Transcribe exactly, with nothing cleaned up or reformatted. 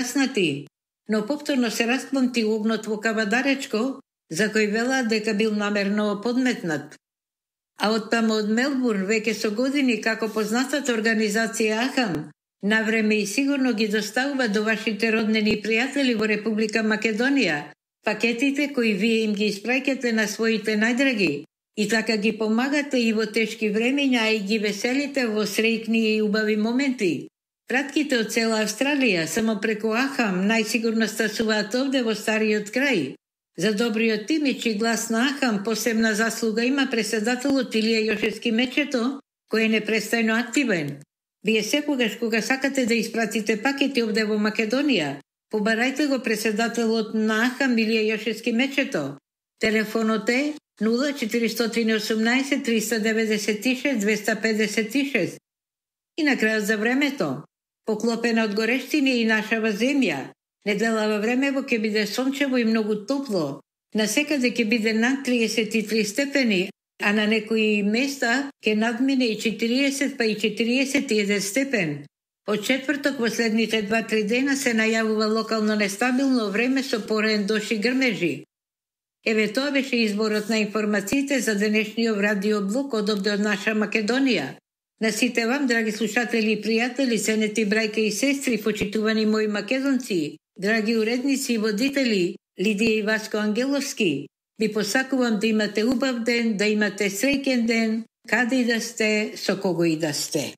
гаснати, но повторно се распламти огнот во Кавадаречко, за кој велат дека бил намерно подметнат. А оттаму од Мелбурн веќе со години како познатата организација Ахам, навреме и сигурно ги доставува до вашите роднини и пријатели во Република Македонија пакетите кои вие им ги испраќате на своите најдраги и така ги помагате и во тешки времиња и ги веселите во среќни и убави моменти. Пратките од цела Австралија само преку Ахам најсигурно стасуваат овде во стариот крај. За добриот имидж и глас на Ахам посебна заслуга има преседателот Илија Јошевски Мечето, кој е непрестајно активен. Вие секогаш кога сакате да испратите пакети овде во Македонија, побарајте го преседателот на Ахам Илија Јошевски Мечето. Телефонот е нула четиристотини и осумнаесет триста деветдесет и шест двеста педесет и шест. И на крајот за времето, поклопена од горештини и нашава земја, неделава времево ќе биде сончево и многу топло. Насекаде ќе биде над триесет и три степени, а на некои места ќе надмине и четириесет па и четириесет и еден степен. Од четврток во следните два-три дена се најавува локално нестабилно време со пораен дожд и грмежи. Еве тоа беше изборот на информациите за денешниот радиоблог од овде од наша Македонија. На сите вам, драги слушатели и пријатели, ценети брајка и сестри, почитувани мои македонци, драги уредници и водители, Лидија и Васко Ангеловски, ви посакувам да имате убав ден, да имате среќен ден, каде и да сте, со кого и да сте.